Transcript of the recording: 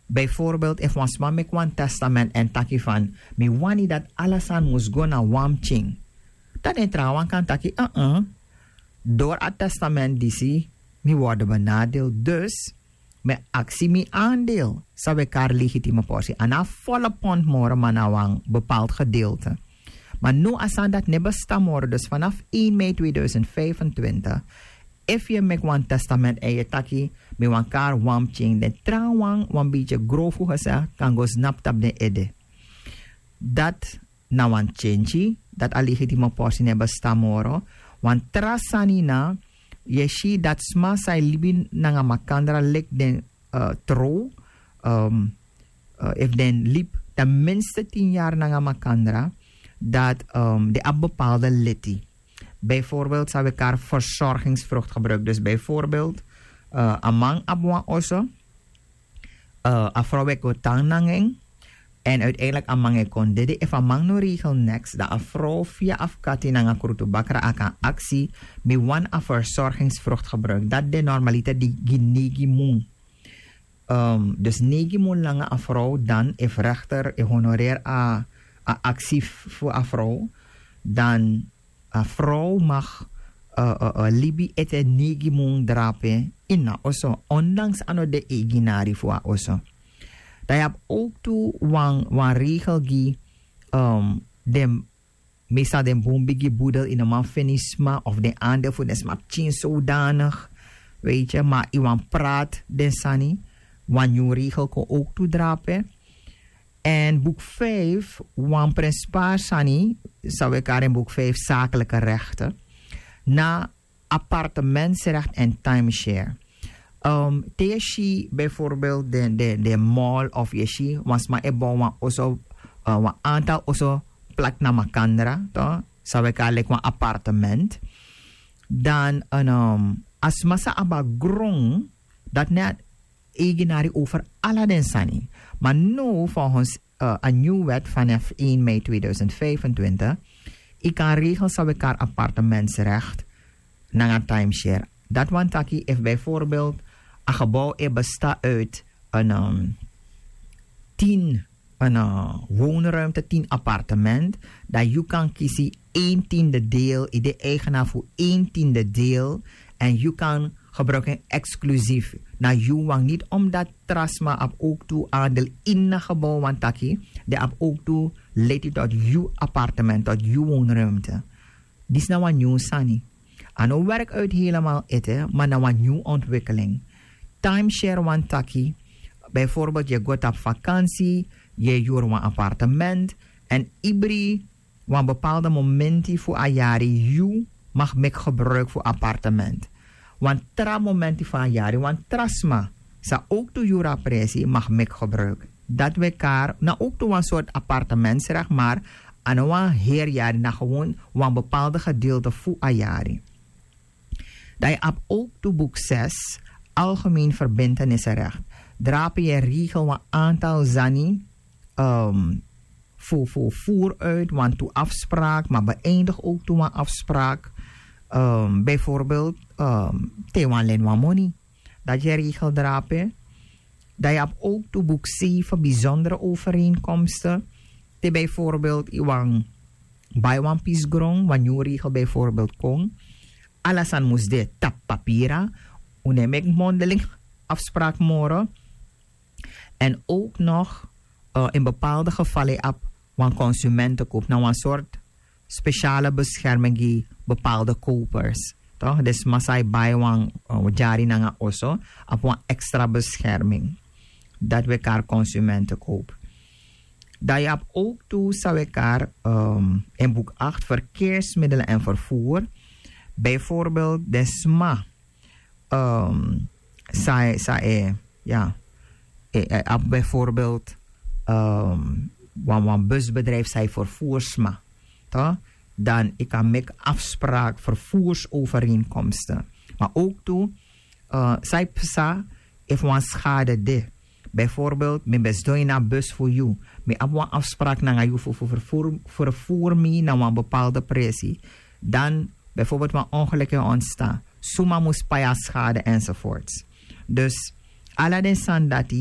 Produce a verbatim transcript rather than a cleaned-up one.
Bijvoorbeeld efu wan sma meki wan testament èn taki fan mi wani dati ala sani mus go na wan pikin, dan den trawan kan taki, dori a testament disi mi worden benadeeld, dus mi e aksi mi aandeel. San wi e kari legitieme porsi a no a volle pond moro ma na wan bepaald gedeelte. Ma now a sani dati no e bestan moro, dus vanaf één mei tweeduizend vijfentwintig, efu yu e meki wan testament èn yu e taki mi wani kari wan pikin, den trawan wan beti grofu gezegd kan go snapu tapu den ede. Dati na wan tyenty, dati a legitieme porsi no e bestan moro. Wan tra sani na, yu e si dati sma san e libi nanga makandra leki den trow, efu den libi ten minste tin yari nanga makandra, dati den abi bepaalde leti. Bijvoorbeeld san wi e kari verzorgingsvrucht gebruik, dus bijvoorbeeld a man abi wan oso, a vrouw e go tan nanga en, èn uiteindelijk a man e kon dede. Efu a man no regel neks, dan a vrouw via afkati nanga krutubakra a kan aksi, mi wani a verzorgingsvrucht gebruik, dati de normaliter di gi neigi mun. Dus neigi mun langa a vrouw, dan efu rechter e honoreer a aksi fu a vrouw, dan a vrouw mag libi ete neigi mun drape ini a oso, ondanks a no de eigenari fu a oso. Dan yu abi ook tu wan wan regel gi den, meestal den bun bigi boedel ini a man feni sma of den aandeel fu den sma pikin zodanig, weet je, maar yu wan praat den sani, wan nieuw regel kon ook tu drape. En boek vijf, wan principaal sani, san wi e kari in boek vijf zakelijke rechten, na appartementsrecht en timeshare. Te yu e si bijvoorbeeld den mall of yu e si wan sma e bow wan oso, wan aantal oso plak na makandra, san wi e kari leki wan appartement, dan a sma sa abi a gron, dati na eigenari over ala den sani. Maar now volgens a nieuw wet vanaf één mei tweeduizend vijfentwintig, yu kan regel san wi e kari appartementsrecht nanga timeshare. Dati wani taki efu bijvoorbeeld a gebouw e besta uit een tin, een woonruimte, tin appartement, dan yu kan kisi één tiende deel, yu de eigenaar fu één tiende deel, en yu kan gebruik en exclusief na yu wani, niet omdat tra sma abi ook tu aandeel ini a gebouw, wani taki den abi ook tu leti tot yu appartement, tot yu woonruimte. Disi na wan nieuw sani. A no werk uit helemaal ete, maar na wan nieuw ontwikkeling. Timeshare wani taki, bijvoorbeeld yu e go tapu vakansi, yu e yuru wan appartement, en ibri wan bepaalde momenti fu a yari yu mag meki gebruik fu appartement. Wan tra momenti fu a yari wan tra sma sa ook tu yuru a presi mag meki gebruik. Dati wi e kari na ook tu wan soort appartementsrecht, maar a no wan heri yari, na gewoon wan bepaalde gedeelte fu a yari. Dan yu abi ook tu boek zes, algemeen verbintenissenrecht. Drape yu e regel wan aantal sani fu fu voer uit wan tu afspraak, maar beëindig ook tu wan afspraak. Bijvoorbeeld te wan len wan moni, dati yu e regel drape. Dan yu abi ook tu boek zeven, bijzondere overeenkomsten. Te bijvoorbeeld yu wani bai wan pisi gron, wan nieuw regel bijvoorbeeld kon, ala sani mus de tapu papira. Un no e meki mondeling afspraak moro. En ook nog in bepaalde gevallen yu abi wan consumentenkoop, na wan soort speciale bescherming gi bepaalde kopers. Toch, dus masai bai wan dyari nanga oso abi wan extra bescherming. Dati wi e kari consumentenkoop. Dan yu abi ook tu san wi e kari in boek acht, verkeersmiddelen en vervoer. Bijvoorbeeld den sma sa e, sa e, ya, abi bijvoorbeeld wan wan busbedrijf sa e vervoer sma, toch? Dan yu kan meki afspraak, vervoersovereenkomsten. Maar ook tu san e psa efu wan schade de. Bijvoorbeeld mi ben sidon ini a bus fu yu, mi abi wan afspraak nanga yu fu fu vervoer mi na wan bepaalde presi. Dan bijvoorbeeld wan ongeluk e ontstan, suma mus pai a schade enzovoorts. Dus ala den sani dati